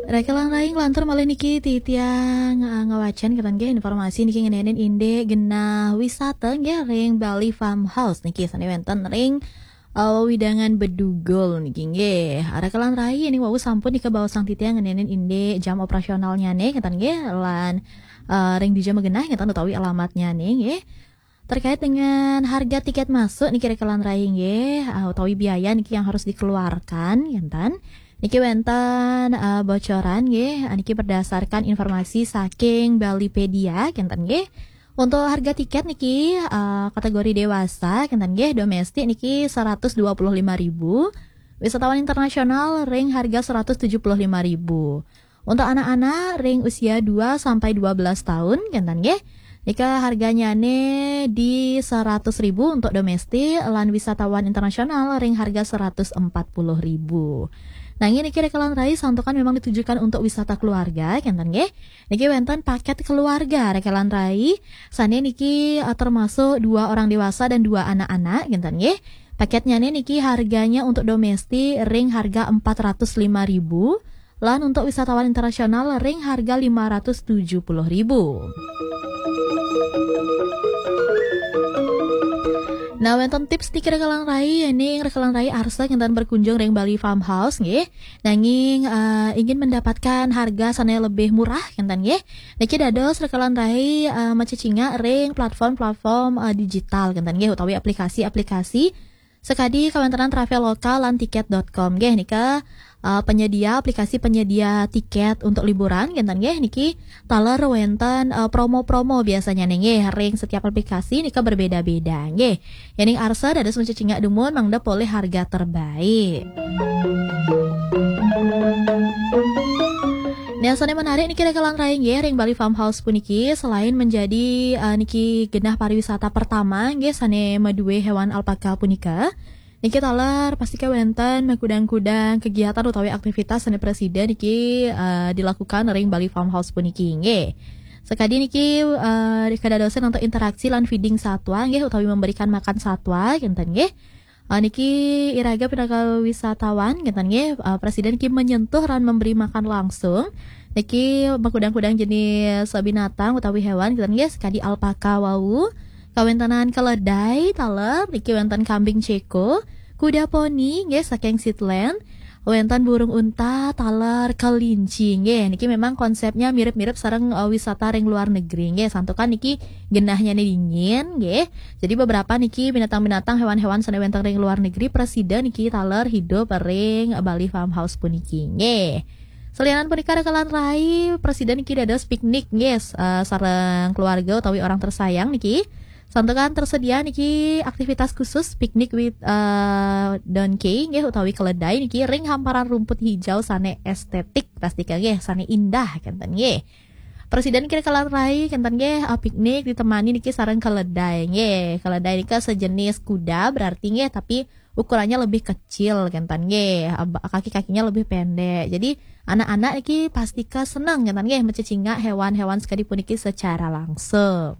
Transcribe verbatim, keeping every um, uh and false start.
Rekelan rai nglantur malih niki titiang, eh, ngawacan kenten nggih informasi niki ngenenin indik genah wisata nggih ring Bali Farmhouse niki sane wenten ring, eh, wewidangan Bedugul niki nggih. Rekelan rai ini wau sampun nika baosang titiang ngenenin indik jam operasionalnyane kenten nggih lan, eh, ring dija magenah kenten utawi alamatnyane nggih. Terkait dengan harga tiket masuk niki rekelan rai nggih, ah, utawi biaya niki yang harus dikeluarkan, kenten. Niki wenten, ah, bocoran nggih, ah, niki berdasarkan informasi saking Balipedia, kenten nggih. Untuk harga tiket niki, ah, kategori dewasa, kenten nggih, domestik niki seratus dua puluh lima ribu, wisatawan internasional ring harga seratus tujuh puluh lima ribu. Untuk anak-anak ring usia dua sampai dua belas tahun, kenten nggih. Nika harganyane di seratus ribu untuk domestik lan wisatawan internasional ring harga seratus empat puluh ribu. Nanging niki rekelan rai santukan memang ditujukan untuk wisata keluarga, kenten nggih. Niki wenten paket keluarga rekelan rai, sane niki, eh, termasuk dua orang dewasa dan dua anak-anak, kenten nggih. Paketnyane niki harganya untuk domestik ring harga empat ratus lima ribu, lan untuk wisatawan internasional ring harga lima ratus tujuh puluh ribu. Nah, wenten tips niki rekelan rai, yening rekelan rai arsa kenten berkunjung ring Bali Farmhouse nggih. Nanging, eh, ingin mendapatkan harga sane lebih murah kenten nggih. Niki dados rekelan rai, eh, macecingak ring platform-platform, eh, digital kenten nggih utawi aplikasi-aplikasi sakadi kawentenan Traveloka lan tiket dot com nggih nika, eh, penyedia, aplikasi penyedia tiket untuk liburan kenten nggih niki taler wenten, eh, promo-promo biasanya nih nggih ring setiap aplikasi nika berbeda-beda nggih. Yening arsa dados macecingak dumun mangda polih harga terbaik. Nah, sane menarik niki rekelan rai nggih ring Bali Farmhouse puniki selain menjadi, eh, niki genah pariwisata pertama nggih sane madue hewan alpaka punika. Niki taler pasti kawenten makudang-kudang kegiatan utawi aktivitas sane prasida niki, eh, dilakukan ring Bali Farmhouse puniki nggih. Sakadi niki, eh, kadadosan untuk interaksi lan feeding satwa nggih utawi memberikan makan satwa kenten nggih. Ah, niki iraga pinaka wisatawan, kenten nggih, ah, prasida niki menyentuh lan memberi makan langsung. Niki makudang-kudang jenis binatang utawi hewan, kenten nggih, sakadi alpaka wau. Kawentenan keledai, taler, niki wenten kambing ceko, kuda poni, nggih, saking Shetland. Wenten burung unta, taler, kelinci, nggih. Niki memang konsepnya mirip-mirip sareng, eh, wisata ring luar negeri, nggih. Santukan niki genahnya nih dingin, nggih. Jadi beberapa niki binatang-binatang, hewan-hewan sane wenten ring luar negeri prasida niki taler hidup ring Bali Farmhouse puniki. Nggih. Salianan punika rekelan rai prasida niki dados piknik, nggih, s-, eh, sareng keluarga utawi orang tersayang niki. Santukan tersedia niki aktivitas khusus piknik with, eh, donkey, nggih, utawi keledai niki ring hamparan rumput hijau sane estetik, pastika nggih, sane indah kenten nggih. Prasida niki rekelan rai kenten nggih, eh, piknik ditemani niki sareng keledai nggih. Keledai nika sejenis kuda berarti nggih, tapi ukurannya lebih kecil kenten nggih. Ab-, kaki-kakinya lebih pendek. Jadi anak-anak niki pastika seneng kenten nggih macecingak hewan-hewan sakadi puniki secara langsung.